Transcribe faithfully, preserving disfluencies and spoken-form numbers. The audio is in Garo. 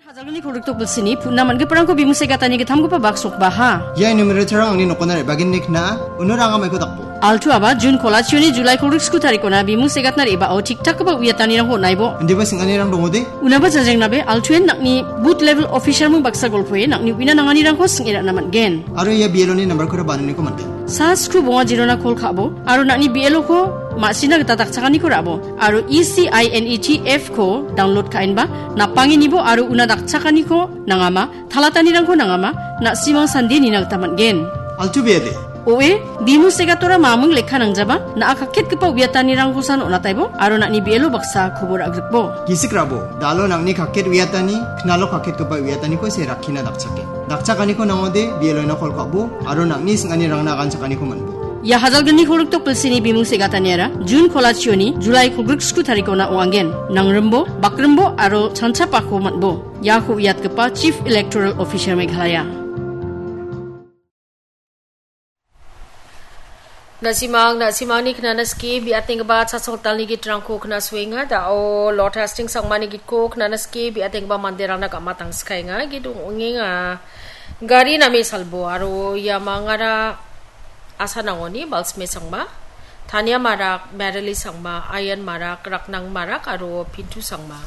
Hajalgni kolgrik tokbilsini putna man·giparangko bimung se·gatani gittamgipa bak sokbaha. Ia enumerator-rang angni nokona re·bagenni kna·a, uno ranga maiko dakbo. Altu aba Jun kolachioni Julai kolgrik sku tarikona bimung se·gatna re·bao tik-takgipa uiatanirangko on·aibo. Indiba sing·anirang dongode? Unaba jajrengnabe, Altuen nang·ni booth level officer-mung baksa golpoe nang·ni uina nanganirangko sing·e ra·na man·gen. Aro ia B L O-ni nambar-kora bananiko man·gen. Sa sku bonga jirona kol ka·bo, aro nang·ni B L O-ko ma·sina gita dakchakaniko ra·bo, aro E C I N E T F-ko download ka·enba, napangenibo aro una dakchakaniko nangama, talatanirangko nangama, na·simang sande nina gita man·gen. Altu bede. Oe, bimung se·gatora mamung lekka nangjaba, na·a kakketgipa uiatanirangkosan on·ataibo, aro nang·ni B L O baksa kobor agrikbo. Gisik rabo, dalo nang·ni kakket uiatani, knalo kakketgipa uiataniko se rakkina dakchake. Dakchakaniko nangode, B L O-na kol ka·bo, aro nang·ni sing·anirangna aganchakaniko man·bo. Ia hajalgni kolgrik tokbilsini bimung se·gataniara Jun kolachioni Julai kolgrik sku tarikona ong·angen. Nangrimbo, bakrimbo, aro chanchapako man·bo. Iako uiatgipa Chief Electoral Officer Meghalaya. Na·simang, na·simangni knana skie bi·atenggipa chasongtalni gitrangko knasoenga. Da·o Lord Hastings Sangmani gitko knana skie bi·atenggipa manderangna gam·atangskaenga. Git ong·enga. Gari name salbo aro ia mangara asanangoni Balsme Sangma, Tania Marak, Merily Sangma, Ayan Marak, Raknang Marak aro Pintu Sangma.